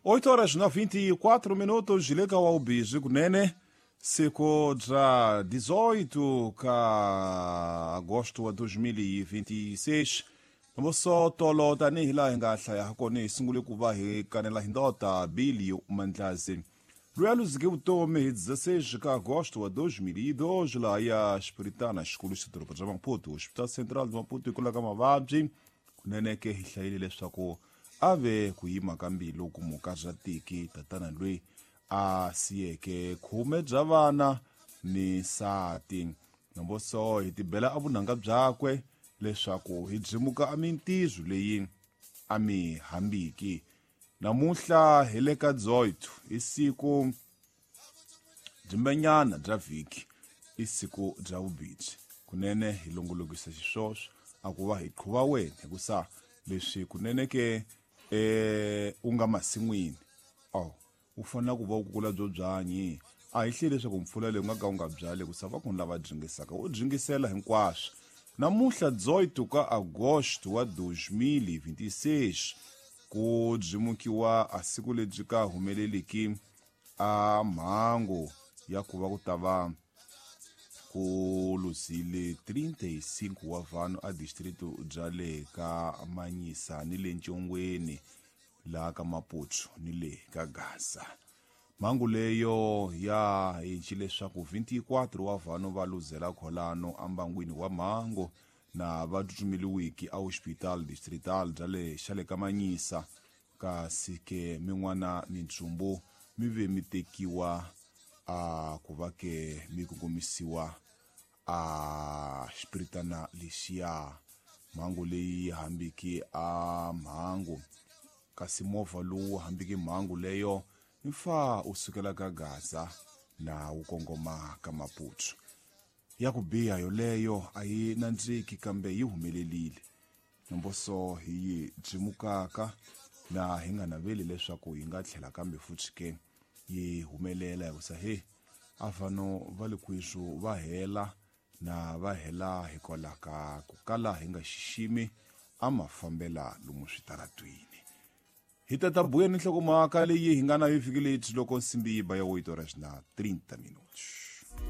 8 horas na 24 minutos le ka waubizi kunene siku bya 18 ka agosto wa 2026. Nomboso tolo tanihi laha hi nga hlaya hakona, hi sungule ku va hi kanela hi ndota Billy Mandlazi loyi a luzike vutomi hi 16 ka agosto wa 2002 laha ya Xipiritana xikulu xa doroba bya Maputo, Hospital Central de Maputo, hikwalaho ka mavabyi. Kunene ke hi hlayile leswaku a ve ku yima ka mbilu ku muka bya tiki tatana loyi a siyeke khume bya vana ni nsati. Nomboso hi tibela a vunanga byakwe leswaku hi byimuka a mintizu leyi a mi hambiki. Namuhla hi le ka 18, i siku byimbenyana bya vhiki, i siku bya vubibyi. Kunene hi longolokisa xiswoswo a ku va hi qhuva wena, hikusa leswi kunene ke u nga masin'wini aw u fanele ku va u kukula byo byanyi. A hi hleli leswaku mpfula leyi u nga ka u nga byali, hikusa va kona lava dyingisaka u dyingisela hinkwaswo. Namuhla 18 ka agosto wa 2026 ku byimukiwa a siku lebyi ka humeleliki a mhangu ya ku va ku ta va ku luzile 35 wa vanhu a district bya le ka Manyisa ni le Ncongweni laha ka Maputo ni le ka Gaza. Mhangu leyo ya hinci leswaku 24 wa vanhu va luzela kholano ambangwini wa mhangu na va tsutsumeliwiki a hospital distrital bya le xa le ka Manyisa, kasi ke min'wana mintsumbu mi ve mi tekiwa a ku va ke mi kongomisiwa a xipiritana lexiya. Mhangu leyi hambiki a mhangu, kasi movha lowu hambiki mhangu leyo mfa u sukela ka Gaza na wu kongoma ka Maputo. Ya ku biha yoleyo a yi nandziki, kambe yi humelelile. Nomboso hi yi byimukaka na hi nga naveli leswaku yi nga tlhela kambe futhi ke yi humelela, hikusa he a vanhu va le kwisu va hela na va hela hikwalaho ka ku kala hi nga xiximi a mafambela lomu switaratwini. Hi ta ta buya ni nhlokomhaka leyi hi nga na yo vhiki leyi loko nsimbi yi ba ya 8 horas na 30 minutos.